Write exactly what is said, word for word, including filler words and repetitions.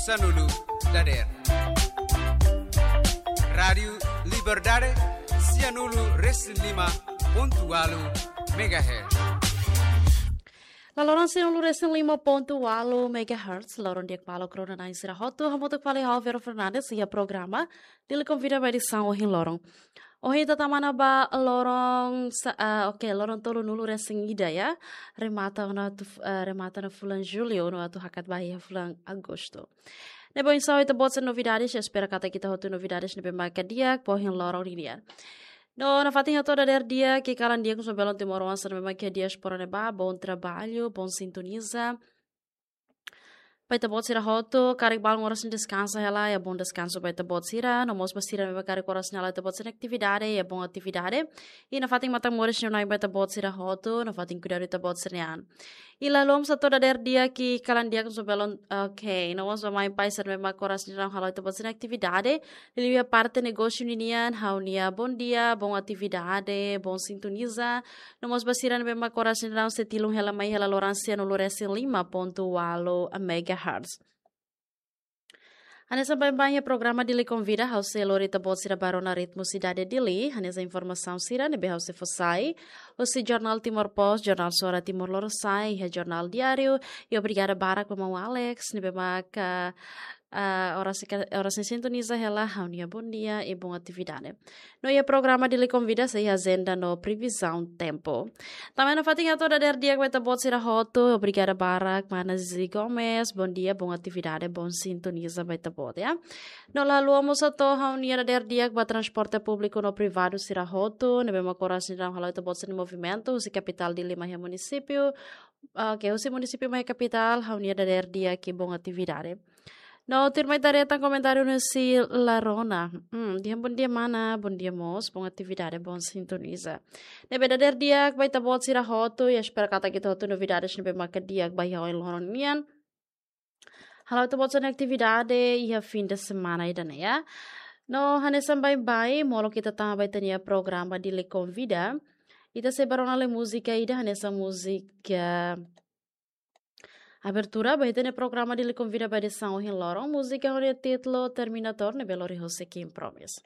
Sanulu dader. Rádiu Liberdade, sianulu resin lima pontu walu megahertz. Laloran sianulu resin lima pontu walu megahertz, loron di'ak ba maluk rona-na'in sira hotu, hamutuk fali ho Vero Fernandes, iha programa Dili Konvida ba edisaun ohin loron. Ohin ita tama ona ba loron, sa-, ah, oke, loron tolunulu resin ida ya. Remata ona atu f-, ah, remata ona fulan Jullu, no atu hakat ba iha fulan Agostu. Ne'ebé oinsá ita-boot sira novidades, espera katak ita hotu novidades ne'ebé maka di'ak ba ohin loron ninian. No, nafatin hato'o dader di'ak, kalan di'ak husi belun timoroan sira ne'ebé maka diáspora ne'ebá, bom trabalho, bom sintoniza. Ba ita-boot sira hotu, karik balun oras nia deskansa hela, iha bom deskansu ba ita-boot sira, no mós ba sira ne'ebé karik oras ne'e halo ita-boot sira-nia atividade, iha bom atividade. I nafatin matan-moris nia na'in ba ita-boot sira hotu, nafatin kuidadu ita-boot sira-nia an. I la haluha mós hato'o dader di'ak, kalan di'ak husi belun, oke, no mós ba mãe pai sira ne'ebé maka oras ne'e daudaun halo ita-boot sira-nia atividade, liuliu iha parte negósiu ninian, ha'u-nia bom dia, bom atividade, bom sintoniza, no mós ba sira ne'ebé maka oras ne'e daudaun sei tilun hela mai hela loran sianulu resin lima pontu walu megahertz. Hanesan baibain iha programa Dili Konvida, ha'u sei lori ita-boot sira ba rona ritmu sidade Dili, hanesan informasaun sira ne'ebé ha'u sei fó sai husi Jornál Timor Post, Jornál Suara Timor Lorosa'e, iha Jornál Diáriu, i obrigada barak ba maun Alex, ne'ebé maka, ah, oras ka-, oras ne'e sintoniza hela ha'u-nia bom dia i bom atividade. No iha programa Dili Konvida sei iha ajenda no previzaun tempu. Tanba ne'e nafatin hato'o dader di'ak ba ita-boot sira hotu, obrigada barak, mana Zizi Gomes, bom dia, bom atividade, bom sintoniza ba ita-boot, ya. No la haluha mós hato'o ha'u-nia dader di'ak ba transporte públiku no privadu sira hotu, ne'ebé maka oras ne'e daudaun halo ita-boot sira-nia movimentu, husi kapitál Dili mai iha munisípiu, oke, husi munisípiu mai iha kapitál, ha'u-nia dader di'ak i bom atividade. No, tuirmai ita haree tan komentáriu husi Larona. Hmm, dehan bom dia mana, bom dia mós, bom atividade, bom sintoniza. Ne'ebé dader di'ak ba ita-boot sira hotu, i espera katak ita hotu novidades ne'ebé maka di'ak ba iha ohin loron nian. Halo ita-boot sira-nia atividade iha fim de semana ida-ne'e ya. No, hanesan baibain, molok ita tama ba ita-nia programa Dili Konvida. Ita sei ba rona lai múzika ida hanesan múzika abertura ba ita-nia programa Dili Konvida ba edisaun ohin loron, múzika ho nia títulu Terminator ne'ebé lori husi King Promise.